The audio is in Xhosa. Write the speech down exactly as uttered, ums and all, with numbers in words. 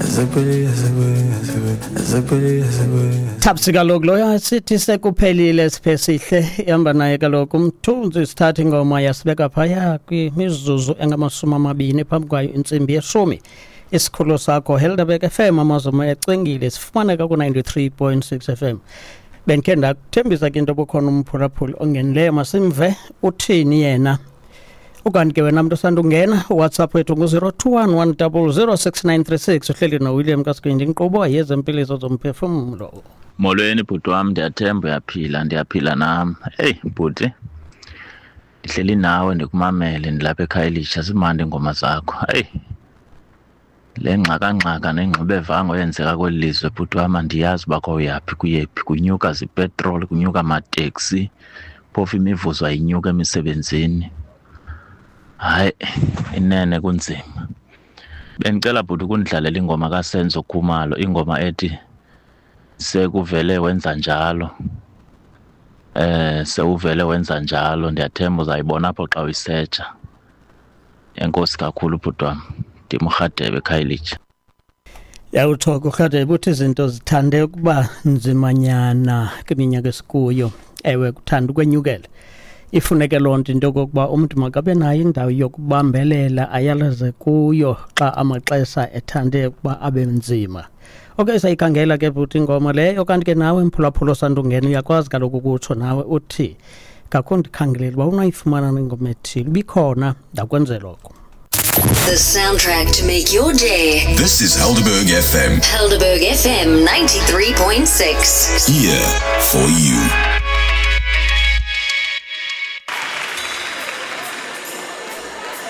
Sekuphelile, sekuphelile, sekuphelile, sekuphelile. Thabsi kaloku loyo sithi sekuphelile Siphesihle, ihamba naye kaloku uMthunzi. Sithatha ingoma yasibeka phaya kwimizuzu engamashumi amabini phambi kwayo intsimbi yeshumi. Isikhululo sakho Helderberg F M, Amazulu ecwengile, sifumaneka ku-ninety-three point six F M. Bendikhe ndakuthembisa ke into obukhona umphulaphuli ongenileyo, masimve uthini yena. Ukanti ke wena mntu osandungena, uWhatsApp wethu ngu-zero two one one zero zero six nine three six. Uhleli noWilliam Kaskwindi, inkqubo yezempiliso zomphefumlo. Molweni bhuti wam, ndiyathemba uyaphila, ndiyaphila nam. Eyi bhuti, ndihleli nawe ndikumamele, ndilapha eKhayelitsha, zimandi iingoma zakho. Eyi, le ngxakangxaka nengxubevango eyenzeka kweli lizwe bhuti wam, andiyazi uba kowuyaphi kuyephi. Kunyuka zipetroli, kunyuka amateksi, phofu imivuzo ayinyuka emisebenzini. Hayi, inene kunzima. Bendicela bhuti ukundidlalela ingoma kaSenzo Khumalo, ingoma ethi "Sekuvele Wenza Njalo". Eh sewuvele wenza njalo, ndiyathemba uzayibona apho xa uyisetsha. Enkosi kakhulu bhuti wam. Ndim uRhadebe eKhayelitsha. Yawutsho kuRhadebe, uthi izinto zithande ukuba nzimanyana kwiminyaka esikuyo. Ewe, kuthanda ukwenyukela. Ifuneke loo nto, into yokokuba umntu makabe nayo indawo yokubambelela ayalaze kuyo xa amaxesha ethande ukuba abe nzima. Okay, sayikhangela ke bhuti ingoma leyo. Kanti ke nawe mphulaphula osandungena, uyakwazi kaloku ukutsho nawe uthi ngakho ndikhangelela uba unayifumana ingoma ethile, ibikhona, ndakwenzela oko. The soundtrack to make your day. This is Helderberg F M. Helderberg F M ninety-three point six. Here for you.